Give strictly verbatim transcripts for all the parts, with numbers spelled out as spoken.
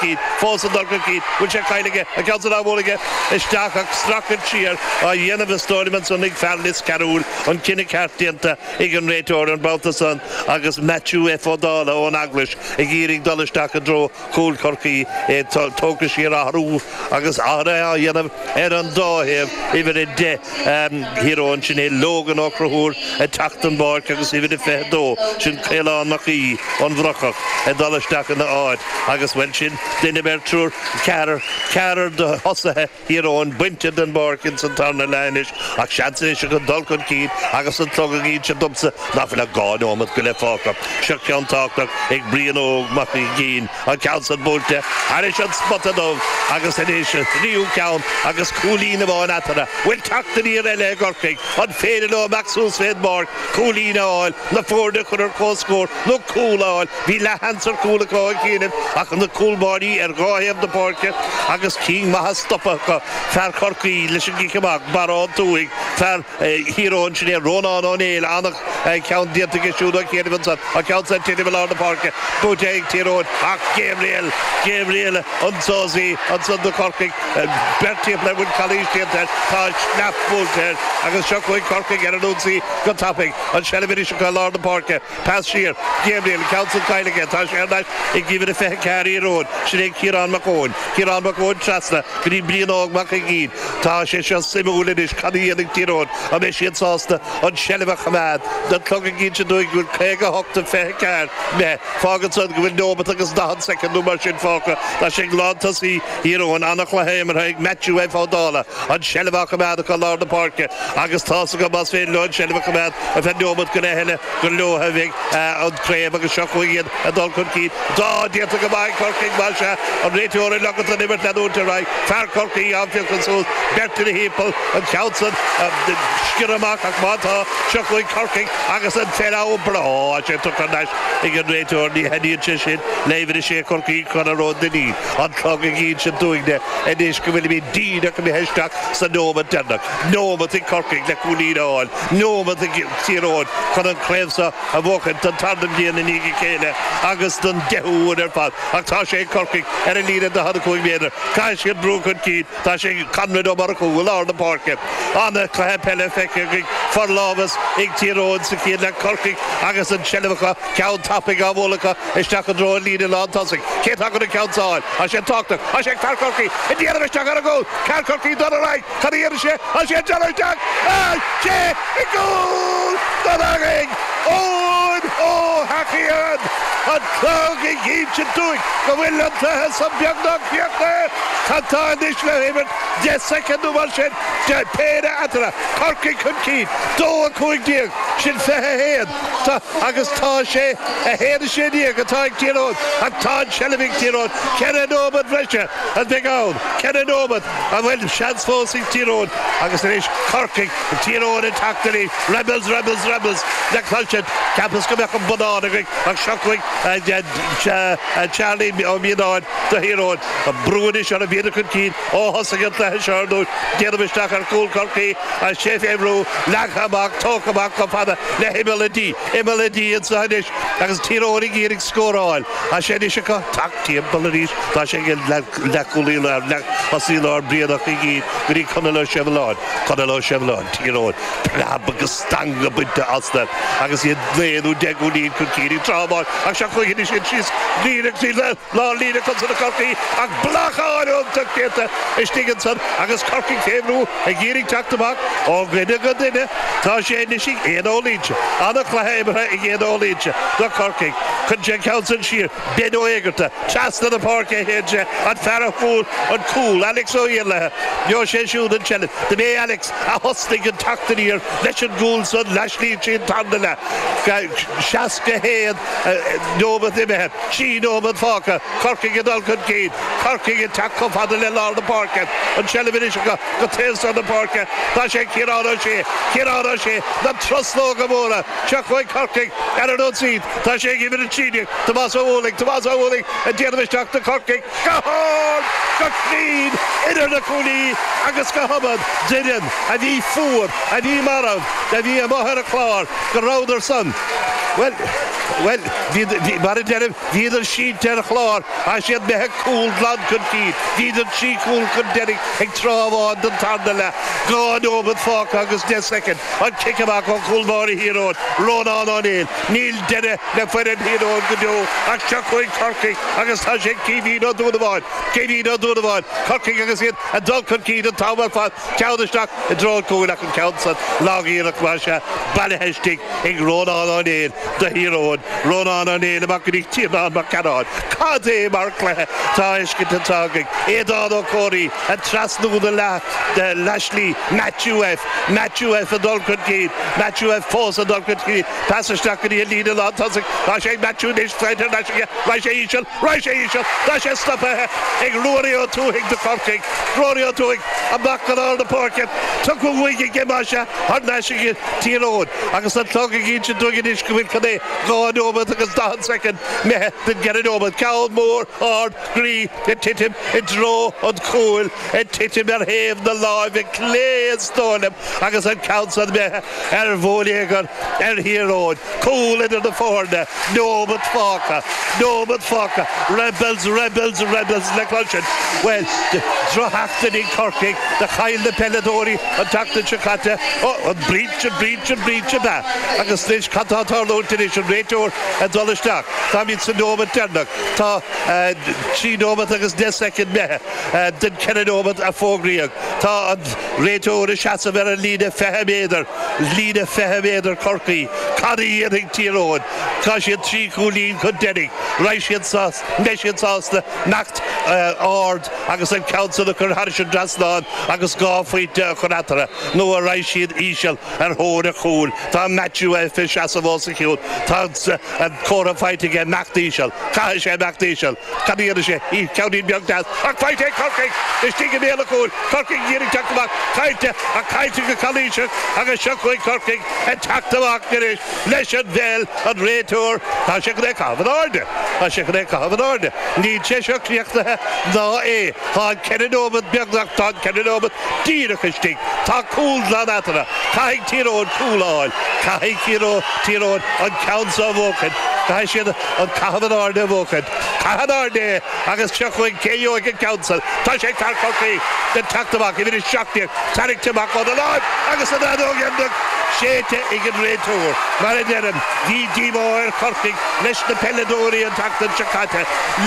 cinn fós ag dul chun cinn bhfuil sé caillte an ceann san á bhualadh aige isteach ach streachailt siar á dhéanamh is dóigh liom ansan ag fear Lios Cearúil an cinneadh ceart déanta ag an réiteoir an babhta san agus Matthew F. Ó Dála ón Eaglais ag iarraidh dul isteach i dtreo chúl Chorcaí é tógtha siar athrú agus athruithe á dhéanamh ar an dá thaobh uimhir a deich Thír Eoghain sin é Logan Ó Conchúir ag teacht den bpáirc agus uimhir a fiche dó sin Caolán Mac Aoidh an Bhrocach ag dul isteach ina áit agus bhuel sin duine beirt triúr ceathrar ceathrar de thosaithe Thír Eoghain bainte den bpáirc ins an tarna leath anois ach seans anois acu dul chun cinn agus an clog ag inse domsa nach bhfuil ach dhá nóiméad go leith fágtha. Seo ceann tábhachtach ag Brian Óg Mac Uiginn an ceann san buailte thairis an spota dubh agus anois an tríú ceann agus cúilín amháin eatarthu. Bhfuil teacht aniar eile ag Corcaigh an féidir leo amach suas fén bpáirc cúilín a fháil na foirne a chur ar comhscór nó cúl a fháil. Bhí leathsheans ar chúl acu ó chianaibh ach na cúlbáirí ar dhá thaobh na páirce agus cinn maithe stoptha acu. Fear Chorcaí leis an gcic amach, Barra Ó Tuathaigh, fear Thír Eoghain sin é Rónán Ó Néill an-cheann déanta aige siúd ó chianaibh ansan an ceann san titim i lár na páirce buaite ag Tír Eoghain ach Gabriel Gabriel Onsósaí ansan do Chorcaigh beirt timpeall air bhfuil calaois déanta air tá sneap buailte air agus seo chugainn Corcaigh ar an ionsaí go tapaidh an seilbh anois acu i lár na páirce pas siar Gabriel ceann san caillte aige tá sé ar ais ag uimhir a fiche ceathair Thír Eoghain sin é Ciarán Mac Eoin Ciarán Mac Eoin trasna go dtí Brian Óg Mac Uiginn tá sé seo suimiúil anois cad a dhéanfaidh Tír Eoghain an mbeidh siad sásta an seilbh a choimeád an clog ag inse dúinn go bhfuil caoga hocht a fiche ceathair imithe fágann san go bhfuil nóiméad agus daichead soicind nó mar sin fágtha tá sé ag lántosaí Thír Eoghain an-chluiche imeartha ag Matthew F. Ó Dála an seilbh á choimeád acu lár na páirce agus tá go más féidir leo an seilbh a choimeád ar feadh nóiméad go leith eile gur leo a bheidh an craobh agus seo chugainn iad ag dul chun cinn dá déanta go maith Corcaigh mar se an réiteoir ag ligean don imirt leanúint ar aghaidh fear Chorcaí á phiocadh suas beirt ina thimpeall an ceann san sciorr amach ach má tá seo chugainn Corcaigh agus an fear breá sé tugtha thar n-ais ag an réiteoir ní thaitníonn sé sin le uimhir a sé Chorcaí Conor Ó Duinnín an clog ag inse dúinne anois go bhfuilimid díreach imithe isteach sa nóiméad deireanach nóiméad ag Corcaigh le cúilín a fháil nóiméad ag Tír Eoghain chun an chraobh seo a bhuachan don tarna bliain i ndiaidh a chéile agus don deichiú huair ar fad ach tá sé ag Corcaigh ar an líne daichead a cúig méadar caithfidh siad brú chun cinn tá sé Conrad Ó Murchú i lár na páirce an-chluiche peile feicthe againn forlámhas ag Tír Eoghain sa chéad leath Corcaigh agus an tseilbh acu ceann tapaidh á bhualadh acu isteach i dtreo an líne lán tosaigh cé atá chun an ceann a fháil tá sé tábhachtach tá sé ag fear Chorcaí ag déanamh isteach ar an gcúl fear Chorcaí dul ar aghaidh cad a dhéanfaidh sé tá sé ag déanamh isteach sé i gcúl don aghaidh Eoin Ó hEachaidh an clog ag inse dúinn go bhfuil an cluiche san beagnach críochnaithe cad tá anois le himirt deich soicind nó mar sin de péire eatarthu Corcaigh chun cinn dó a cúig déag sin fiche a haon tá agus tá sé a haon a sé déag atá ag Tír Eoghain ach tá an seilbh ag Tír Eoghain ceithre nóiméad bhreise a bheidh ann ceithre nóiméad a bhfuil seans fós ag Tír Eoghain agus anois Corcaigh Tír Eoghain ag teacht arís Rebels Rebels Rebels le cloisint ceapas go mbeadh an bonnán againn ach seo chugainn Charlie Ó Mianáin do Thír Eoghain an brú anois ar a bhíonn chun cinn ó thosaigh an cluiche seo ar dtús déanamh isteach ar chúl Chorcaí a sé fé bhrú leagtha amach tógtha amach chomh fada le himeall a D imeall a D anseo anois agus Tír Eoghain ag iarraidh scóráil a sé anois acu teacht timpeall arís tá sé ag leathchúlaí lár leath-thosaí lár Brian Ó Cuigín go dtí Conall Ó Sibhleáin Conall Ó Sibhleáin Tír Eoghain preab agus stangadh bainte astu agus iad naoi nó deich gcúilín chun cinn ag tráth amháin ach seo chugainn anois iad síos líne trí lár líne chun na Corcaí ach blocáil iontach déanta istigh ansan agus Corcaigh fé bhrú ag iarraidh teacht amach ó dhuine go duine tá sé anois ag Éanna Ó Loingsigh an-chluiche imeartha ag Éanna Ó Loingsigh do Chorcaigh chun sé ceann san siar Ben Ó Éigearta trasna na páirce a théann sé an fear a fuair an cúl Alex Ó hIarlaithe Bheo sé siúd an tseilbh do b'é Alex a thosnaigh an teacht aniar leis an gcúl san leaslíon sin tarna leath seasca haon nóiméad imithe trí nóiméad fágtha Corcaigh ag dul chun cinn Corcaigh ag teacht chomh fada le lár na páirce an tseilbh anois acu go taobh seo na páirce tá sé Ciarán Ó Sé Ciarán Ó Sé na truslóga móra seo chugainn Corcaigh ar an ionsaí tá sé ag uimhir a trí déag Tomás Ó Ualaigh Tomás Ó Ualaigh ag déanamh isteach do Chorcaigh go hard go cruinn idir na cuaillí agus go hiomad d'fhoireann a bhí fuar a bhí marbh a bhí amuigh ar an chlár go rabhadar san. Well, well, mar a deirim, bhíodar sínte ar chlár, tá siad imithe cúl glan chun cinn, bhíodar trí chúl chun deiridh ag tráth amháin den tarna leath. Dhá nóiméad fágtha agus deich soicind, an cic amach ó chúl báire Thír Eoghain, Rónán Ó Néill. Níl deireadh le foireann Thír Eoghain go deo ach seo chugainn Corcaigh agus tá sé ag Caoimhín Ó Dúnabháin, Caoimhín Ó Dúnabháin, Corcaigh agus iad ag dul chun cinn an t-am ar fad, ceann isteach i dtreo an chúil ach an ceann san lag-iarracht mar sea, bailithe istigh ag Rónán Ó Néill do Thír Eoghain, Rónán Ó Néill amach go dtí Tiarnán Mac Cearáin. Cad é mar chluiche atá á fheiscint anseo againn? Aodán Ó Comhraí ag trasnú na leathshlí, Matthew F. Matthew F. ag dul chun cinn, Matthew F. fós ag dul chun cinn, pas isteach go dtí an líne lántosaigh, tá sé ag Matthew anois, faighte ar ais aige, raghaidh sé íseal, raghaidh sé íseal, tá sé stoptha ag Ruairí Ó Tuathaigh do Chorcaigh, Ruairí Ó Tuathaigh amach go lár na páirce, tugtha uaidh aige más ea, thar n-ais ag Tír Eoghain agus an clog ag insint dúinn anois go bhfuil cad é dhá nóiméad agus daichead soicind imithe den gceithre nóiméad. Ceann mór ard groí ag titim i dtreo an chúil, ag titim ar thaobh na láimhe clé is dóigh liom agus an ceann san imithe ar bhonneagar ar Thír Eoghain. Cúl idir na foirne, nóiméad fágtha, nóiméad fágtha. Rebels, Rebels, Rebels le cloisint. Bhuel, drochsheachtain ag Corcaigh, do chaill na peileadóirí an tseachtain seo caite. Ó, an brinse, brinse, brinse ab ea? Agus anois, cad tá ag tarlúint anois? An réiteoir ag dul isteach. Táimid sa nóiméad deireanach. Tá trí nóiméad agus deich soicind imithe den ceithre nóiméad a fógraíodh. Tá an réiteoir ag seasamh ar an líne fiche méadar, líne fiche méadar Chorcaí. Cad a dhéanfaidh Tír Eoghain? Tá siad trí chúilín chun deiridh. Raghaidh siad sásta, mbeidh siad sásta imeacht ard agus an ceann san a chur thairis an dtrasnán agus dhá phointe a chur eatarthu, nó an raghaidh siad íseal ar thóir an chúil. Tá Matthew F ag seasamh os a chionn. Tá an comhartha faighte aige imeacht íseal. Caithfidh sé imeacht íseal. Cad a dhéanfaidh sé? Ceainnín beag deas. Ach faighte ag Corcaigh! Istigh i mbéal an chúil. Corcaigh ag iarraidh teacht amach. Caillte, ach caillte go calaoiseach agus seo chugainn Corcaigh ag teacht amach anois leis an bhpeil. An réiteoir, tá sé chun é a chaitheamh in airde. Tá sé chun é a chaitheamh in airde. Níl sé seo críochnaithe ná é. Tá an ceithre nóiméad beagnach, tá an ceithre nóiméad díreach istigh. Tá cúl glan eatarthu. Caithfidh Tír Eoghain cúl a fháil. Caithfidh Tír Eoghain an ceann seo a bhuachaint. Caithfidh siad an caitheamh in airde a bhuachaint. Caith in airde é agus seo chugainn cé gheobhaidh an ceann san. Tá sé ag fear Chorcaí ag teacht amach, uimhir a seacht déag, tarraingthe amach óna láimh agus an fheadóg dheireanach séidte ag an réiteoir. Mar a deirim, bhí díomá ar Chorcaigh leis na peileadóirí an tseachtain seo caite,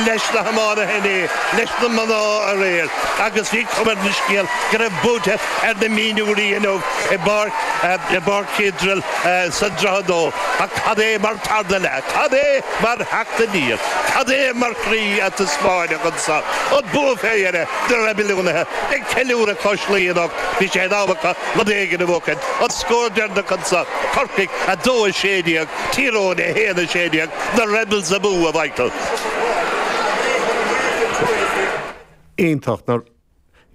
leis na hiománaithe inné, leis na mná aréir agus bhí cuma ar an scéal go raibh buaite ar na mionúirí inniu i bPáirc i bPáirc Childrel sa Droichead Nua. Ach cad é mar tarna leath? Cad é mar theacht aniar? Cad é mar chroí a taispeáineadh anseo? An bua fé dheireadh na Reibiliúnaithe ag ceiliúradh cois Laoi anocht. Bhí sé in am acu rud éigin a bhuachaint. An scór deireanach anseo, Corcaigh a dó a sé déag, Tír Eoghain a haon a sé déag, na Rebels amú, a Mhichael. Iontach, ná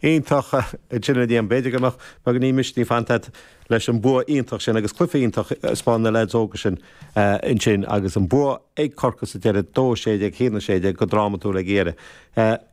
iontach ansin a Liam. B'fhéidir go mbeadh beagáinín misnigh fanta agat leis an bua iontach sin agus cluiche iontach a thaispeáin na leaids óga sin ansin agus an bua ag Corcaigh sa deireadh, dó a sé déag, haon a sé déag go drámatúil ag dheireadh.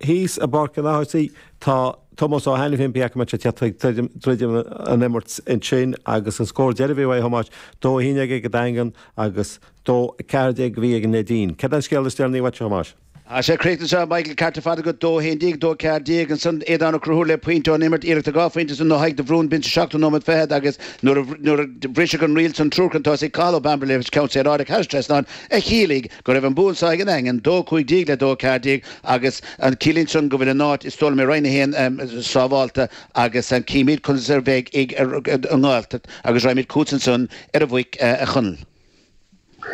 Thíos i bPáirc an Fháthartaigh tá Tomás Ó hAiniféin, pé acu an mbeidh sé ag teacht ag druidim an imirt ansin agus an scór deiridh a bhí uaidh, a Thomáis, dó a haon déag ag an Daingean agus dó a ceathair déag a bhí ag an Neidín. Céard é an scéal is deireanaí uait, a Thomáis? Tá sé críochnaithe anseo, Michael, ceart ar fad agat, dó a haon déag, dó a ceathair déag, ansan Aodán Ó Conchúir le pointe ón imirt, iarracht ar dhá phointe ansan ó Thadhg de Bhrún, b'in sa seachtú nóiméad fichead agus nuair a nuair a briseadh an riail san triúr chun tosaigh, Cathal Ó Bambaire le ceann saoráideach thar an trasnán a chiallaigh go raibh an bua anseo ag an nDaingean, dó a cúig déag le dó a ceathair déag agus an ciallaíonn san go bhfuil a n-áit is dóigh liom i Roinn a haon sábhálta agus címid conas a bheidh ag an nGaeltacht agus raghaimid chugatsa ansan ar an bhFaic a Chonaill.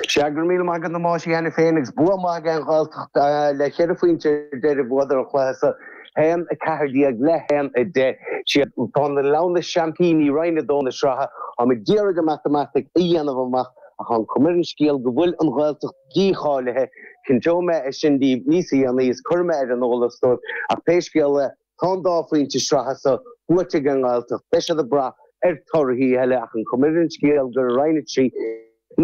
Sea, go raibh míle maith agat a Thomáis cheana féin agus bua maith ag an Ghaeltacht le ceithre phointe ar deireadh bhuadar an cluiche seo, haon a ceathair déag le haon a deich. Siad tá na Leamhna seaimpíní Roinn a dó na sraithe. Táimid d'iarraidh an matamaitic a dhéanamh amach ach tá an chuma ar an scéal go bhfuil an Ghaeltacht dícháilithe. Cinnteoidh mé é sin daoibh níos dhéanaí is cuirfidh mé ar an eolas dóibh ach pé scéal é tá an dá phointe sraithe seo buaite ag an nGaeltacht. Beidh siad ag brath ar torthaí eile ach an chuma ar an scéal gur i Roinn a trí a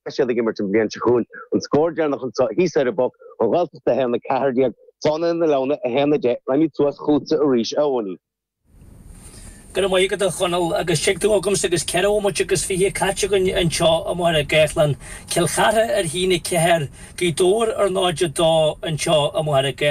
bheidh siad ag imirt an bhliain seo chugainn. An scór deireanach anseo thíos ar an bPoc, an Ghaeltacht a haon a ceathair déag, Fánaithe na Leamhna a haon a deich. Raghaimid suas chugatsa arís, a Eoiní. Go raibh maith agat a Chonaill agus tig tú agamsa agus ceithre bhomaite agus fiche caite againn anseo i Machaire Gathlán, Cill Chartha ar a haon a ceathair, Gaoth Dobhair ar náid a dó anseo i Machaire Gathlán.